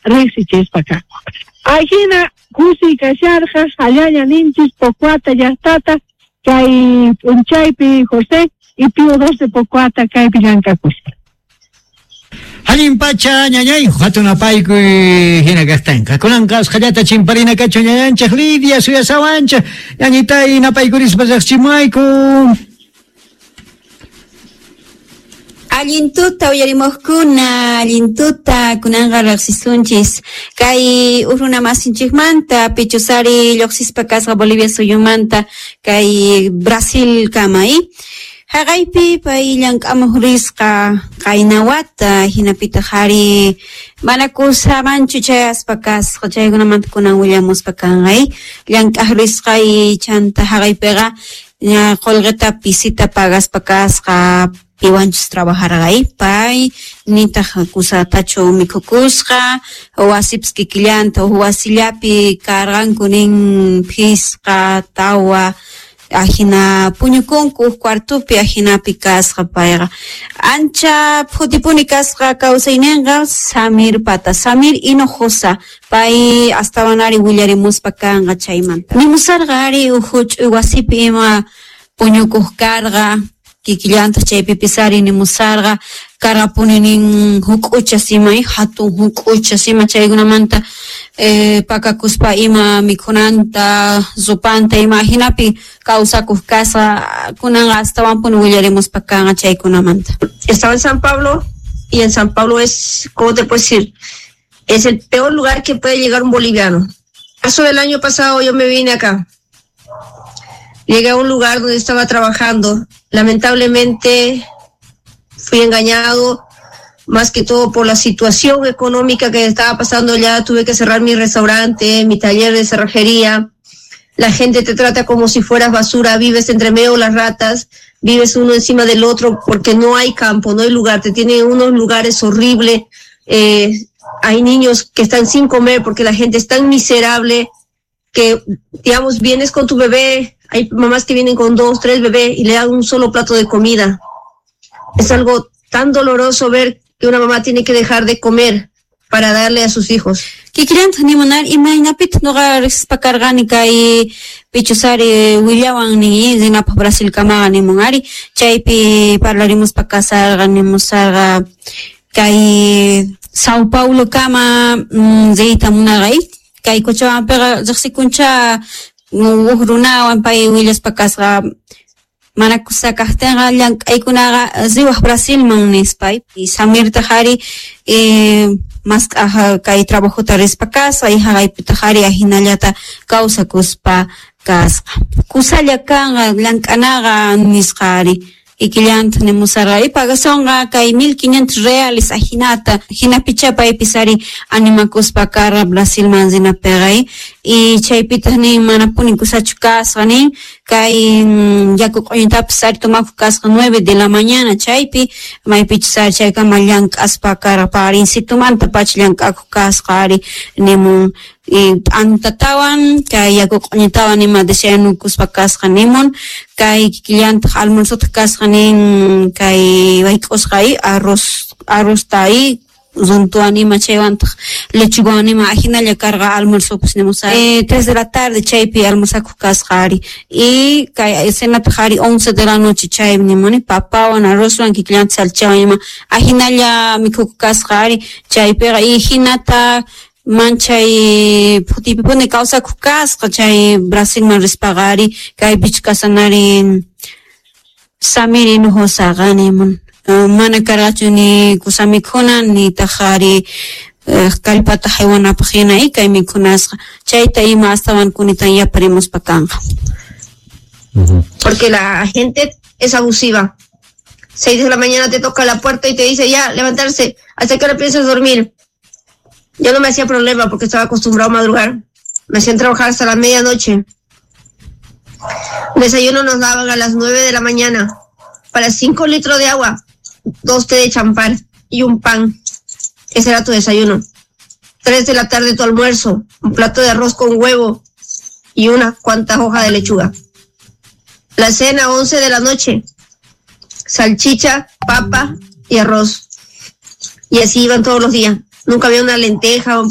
Riqsichispa kanku. Ajina kusiy kasharqa hallaña ninchis Pocoata llaqtata kay p'unchaypi José y Pío 2 de Pocoata kaypi llank'akuspa. Allin pacha ñañay, hatun apaykuy hina kaqtinqa. Kunanqa usqhallata chimparina kachun ñañanchik Lidia suyasawanchik. Ñañitay napaykurispa riqchimuwayku. Allin tuta uyarimuqkuna, allin tuta kunanqa riqsisunchis kay huk runa masinchikmanta pichusari lluqsispa kasqa Bolivia suyumanta kay Brasil kama i. Haqaypi pay llank'amuq risqa qayna wata hinapitaq ari mana kusamanchu chayaspa kasqa chaykunamanta kunan willamuspa kanqa i. Llank'aq risqa y chanta haqaypiqa ña qullqita pisita pagaspa kasqa piwanchus trabajarqa i pay nitaq kusatachu mikhukusqa wasipis kikillanta huk wasillapi karqanku nin phisqa tawa ajina puñukunku huk cuartopi ajinapi kasqa payqa ancha phutipuni kasqa kawsayninqa Samir pata Samir Hinojosa pay astawan ari willarimuspa kanqa chaymanta nimusarqa ari huk huch'uy wasipi ima puñukuq karqa kikillantaq chaypipis ari nimusarqa karqapuni nin huk'uchas ima hatun huk'uchas ima chaykunamanta pakakuspa ima mikhunanta rupanta ima ajinapi kawsakuq kasqa kunanqa astawanpuni willarimuspa kanqa chaykunamanta. Estaba en San Pablo y en San Pablo es, ¿cómo te puedo decir? Es el peor lugar que puede llegar un boliviano. Marzo del año pasado yo me vine acá. Llegué a un lugar donde estaba trabajando. Lamentablemente fui engañado, más que todo por la situación económica que estaba pasando allá. Tuve que cerrar mi restaurante, mi taller de cerrajería. La gente te trata como si fueras basura, vives entre medio de las ratas, vives uno encima del otro porque no hay campo, no hay lugar, te tienen unos lugares horribles. Hay niños que están sin comer porque la gente es tan miserable que, digamos, vienes con tu bebé, hay mamás que vienen con 2, 3 bebés y le dan un solo plato de comida. Es algo tan doloroso ver que una mamá tiene que dejar de comer para darle a sus hijos. Kikillantaq nimunar imaynapitaq nuqa riqsispa karqani kay pichusari willawan nin rinapaq Brasilkamaqa nimun ari chaypi parlarimuspa kasarqa nimusarqa kay Sao Paulo kama riyta munarqa kay Cochabambapiqa riqsikuncha huk runawan pay willaspa kasqa mana kusa kaqtinqa llank'aykunaqa riwaq Brasilman nispa y Samirtaq ari mask'aq kay trabajota rispa kasqa y haqaypitaq ari ajinallata kawsakuspa kasqa kusalla kanqa llank'anaqa nisqa ari kikillantaq nimusarqa y pagasonqa kay 1500 reales ajinata hinapicha paypis ari animakuspa karqa Brasilman rinapiqa y chaypitaq nin manapuni kusachu kasqa nin kay yaku q'uñutapis ari tomakuq kasqa 9 de la mañana chaypi maypichus ari chaykama llank'aspa karqa paqarinsitumanta pacha llank'akuq kasqa ari nimun y t'antatawan kay yaku q'uñutawan ima desayunukuspa kasqa nimun kay kikillantaq almuerzotaq kasqa nin kay wayk'usqa arrozta runtuwan ima chaywantaq lechugawan ima ajinalla karqa almuerzopis nimusqa 3 de la tarde chaypi almorzakuq kasqa ari y kay cenataq ari 11 de la noche chay nimuni papawan arrozwan kikillantaq salchichawan ima ajinalla mikhukuq kasqa ari chaypiqa y hinata manchay phutipipuni kawsakuq kasqa chay Brasilman rispaqa ari kaypichu kasanari Samir Hinojosaqa nimun mana karqachu ni kusa mikhuna nitaq ari kallpata haywanapaq hina y kay mikhunasqa chayta ima astawan kunitan yaparimuspa kanqa. Porque la gente es abusiva. 6 de la mañana te toca la puerta y te dice ya, levantarse, ¿hasta qué hora piensas dormir? Yo no me hacía problema porque estaba acostumbrado a madrugar. Me hacían trabajar hasta la medianoche. Desayuno nos daban a las 9 de la mañana. Para 5 litros de agua, 2 té de champán y un pan. Ese era tu desayuno. 3 de la tarde tu almuerzo, un plato de arroz con huevo y unas cuantas hojas de lechuga. La cena, 11 de la noche, salchicha, papa y arroz. Y así iban todos los días. Nunca había una lenteja, un